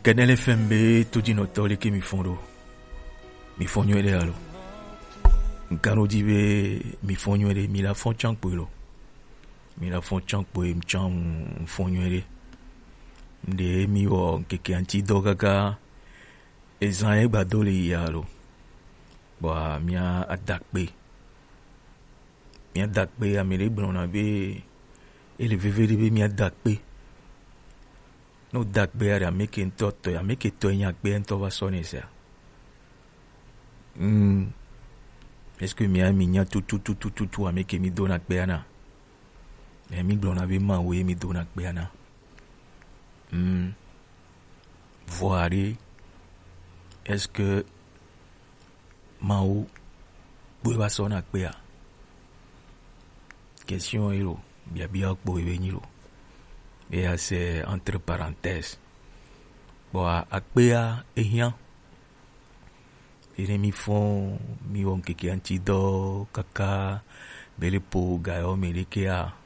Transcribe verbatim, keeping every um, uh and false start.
Kɛnɛlɛ fɛn be tojinɔtɔ le ke mi fɔn ɖo. Mi fɔn nyuie ɖe alo? Nkan ɖo di be mi fɔn nyuie ɖe, mi la fɔn can kpoe lo. Mi la fɔn can kpoe, mi can fɔn nyuie ɖe. Nde mi wɔ nkeke anti dɔ kaka ezan ye gbado le yi alo. Bɔa mia adakpe. Mia dakpe, ame ɖe gblɔna be ele veve ɖe be mia dakpe. Ne wòda akpea ɖe, ame ke ŋutɔ tɔe, ame ke tɔe nye akpea ŋutɔ va sɔ nɛ sia? Mm. Est-ce que mia mi nya tututututu ame ke mi dona akpea na? Mais mi gblɔna be Mawu ye mi dona akpea na. Mm. Vɔa ɖe, est-ce que Mawu kpoe va sɔ na akpea? Question ye lo, biabia kpo ye be nyi lo. Eya se entre parenthèses. Bon, a-, akpea ehiã. Ene mi fɔn, mi wɔ nkeke anti dɔ kaka bele po ga yɔ mi ɖekea.